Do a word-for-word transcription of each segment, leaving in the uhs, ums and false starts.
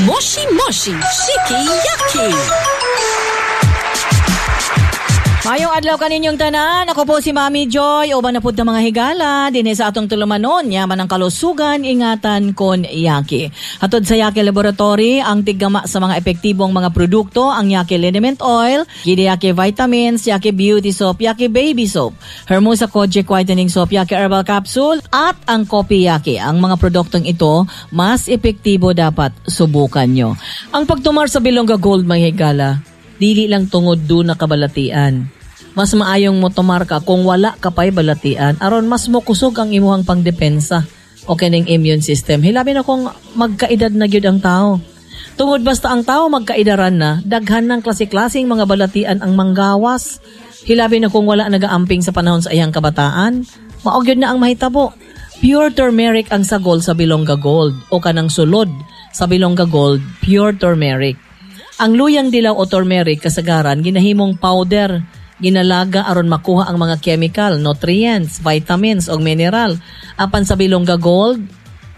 Moshi Moshi Shiki Yaki. Mayong adlaw kaninyong tanan. Ako po si Mami Joy. Uban na pud ta mga higala. Dinhi sa atong tulumanon. Yaman ang kalusugan, ingatan kon Yaki. Hatod sa Yaki Laboratory, ang tiggama sa mga epektibong mga produkto, ang Yaki Liniment Oil, Gidi Yaki Vitamins, Yaki Beauty Soap, Yaki Baby Soap, Hermosa Kojic Whitening Soap, Yaki Herbal Capsule, at ang Kopi Yaki. Ang mga produktong ito, mas epektibo dapat subukan nyo. Ang pagtumar sa Bilongga Gold, mga higala, dili lang tungod duna ka balatian. Mas maayong mo tumar ka kung wala ka pa'y balatian aron mas mokusog ang imuhang pangdepensa o kining immune system. Hilabi na kung magkaedad na gyud ang tao. Tungod basta ang tao magkaidaran na, daghan ng klase-klaseng mga balatian ang manggawas. Hilabi na kung wala nagaamping sa panahon sa iyang kabataan, mao gyud na ang mahitabo. Pure turmeric ang sagol sa Bilongga Gold o kanang sulod sa Bilongga Gold, pure turmeric. Ang luyang dilaw o turmeric kasagaran ginahimong powder, ginalaga aron makuha ang mga chemical, nutrients, vitamins ug mineral. Apan sa Bilongga Gold,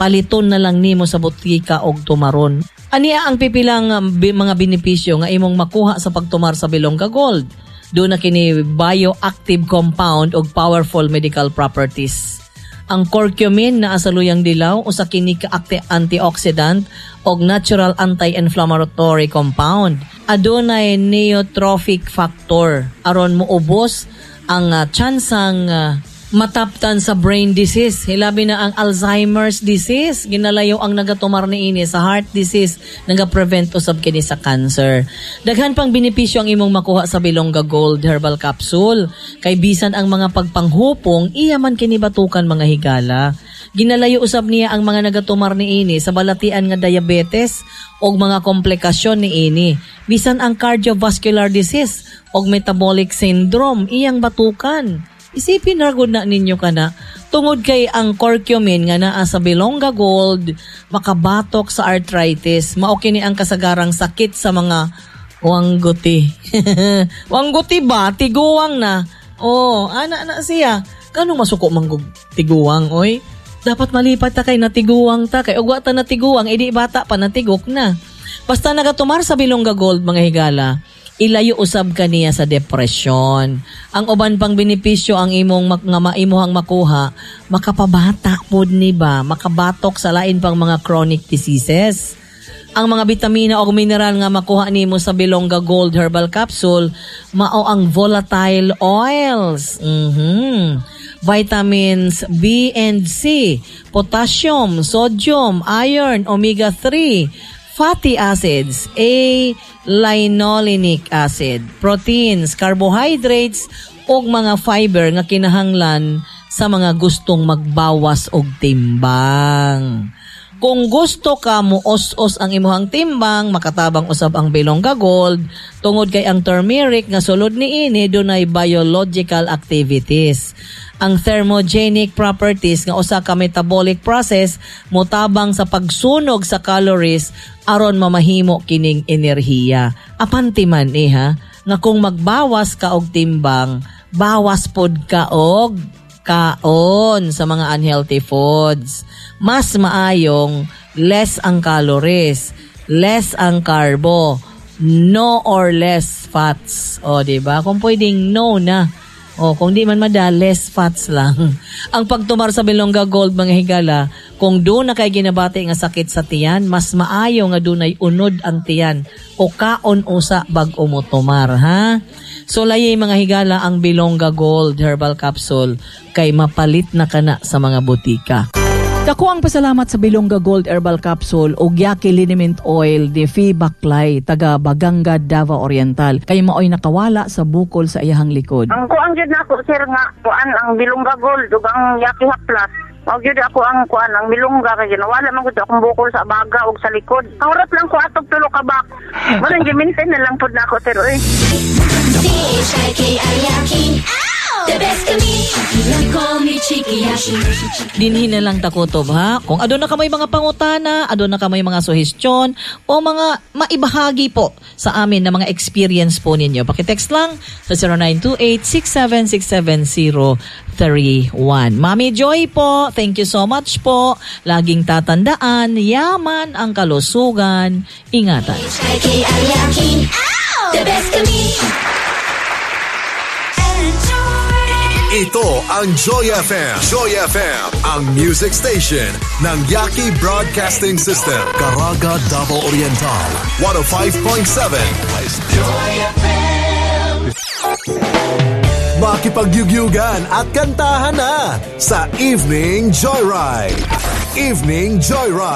paliton na lang nimo sa botika og tumaron. Ania ang pipilang um, bi- mga benepisyo nga imong makuha sa pagtumar sa Bilongga Gold. Duna kini bioactive compound og powerful medical properties. Ang curcumin naa sa luyang dilaw usa kini ka antioxidant og natural anti-inflammatory compound. Adunay neurotrophic factor aron moubos ang uh, tsansang uh, mataptan sa brain disease. Hilabi na ang Alzheimer's disease. Ginalayo ang nagatumar niini sa heart disease, naga-prevent usab kini sa cancer. Daghan pang benepisyo ang imong makuha sa Bilongga Gold Herbal Capsule. Kay bisan ang mga pagpanghupong, iya man kini batukan mga higala. Ginalayo usab niya ang mga nagatumar niini sa balatian nga diabetes o mga komplikasyon niini. Bisan ang cardiovascular disease o metabolic syndrome, iyang batukan. Isipin ra gud na ninyo kana tungod kay ang curcumin nga naa sa Bilongga Gold makabatok sa arthritis. Mao kini ang kasagarang sakit sa mga wangguti. Wangguti ba? Tiguang na. Oh, ana na siya. Kano masuko manggug tiguang oy? Dapat malipat ta kay natiguang ta kay ug wa ta natiguang edi bata pa natigok na. Basta nagatumar sa Bilongga Gold mga higala, ilayo usab kaniya sa depresyon. Ang uban pang benepisyo ang imong mak- nga maimuhang makuha, makapabata pod ni ba, makabatok sa lain pang mga chronic diseases. Ang mga bitamina o mineral nga makuha nimo sa Bilongga Gold Herbal Capsule mao ang volatile oils. Mhm. Vitamins B and C, potassium, sodium, iron, omega three, fatty acids, A linolenic acid, proteins, carbohydrates ug mga fiber nga kinahanglan sa mga gustong magbawas og timbang. Kung gusto ka mo os-os ang imuhang timbang, makatabang usab ang Bilongga Gold tungod kay ang turmeric nga sulod niini dunay biological activities. Ang thermogenic properties nga usa ka metabolic process motabang sa pagsunog sa calories aron mamahimo kining enerhiya. Apanti man eh ha, nga kung magbawas ka og timbang, bawas pod ka og kaon sa mga unhealthy foods. Mas maayong less ang calories, less ang carbo, no or less fats. O, di ba? Kung pwedeng no na. O, kung di man mada, less fats lang. Ang pagtumar sa Bilongga Gold, mga higala, kung duna kay ginabati nga sakit sa tiyan, mas maayo nga dunay unod ang tiyan o kaon usa bag-o mo tumar, ha? So, layay mga higala ang Bilongga Gold Herbal Capsule kay mapalit na kana sa mga botika. Dako ang pasalamat sa Bilongga Gold Herbal Capsule o Yaki Liniment Oil ni Fee Baklay, taga Baganga, Davao Oriental. Kay maoy nakawala sa bukol sa iyahang likod. Ang kuan gyud nako sir nga kuan ang Bilongga Gold ug ang Yaki Plus. Mao gyud ako ang kuan ang Bilongga kay ginawala man gud akong bukol sa baga ug sa likod. Ang lang ko atog tulo ka bak. Mo nang gi-maintain na lang pud nako sir oy. C H I K I Yaki. Ow! The best kami. You call me Chikiyashi. Dinhi na lang ta kutob ha. Kung aduna kamoy mga pangutana, aduna kamoy mga suhestyon o mga maibahagi po sa amin na mga experience po ninyo. Paki-text lang sa zero nine two eight, six seven six seven zero three one. Mami Joy po, thank you so much po. Laging tatandaan, yaman ang kalusugan. Ingatan. H I K I Yaki. The best kami. Ito ang Joy F M. Joy F M, ang music station ng Yaki Broadcasting System. Caraga, Davao Oriental, one oh five point seven. Makipagyugyugan at kantahan na sa Evening Joyride. Evening Joyride.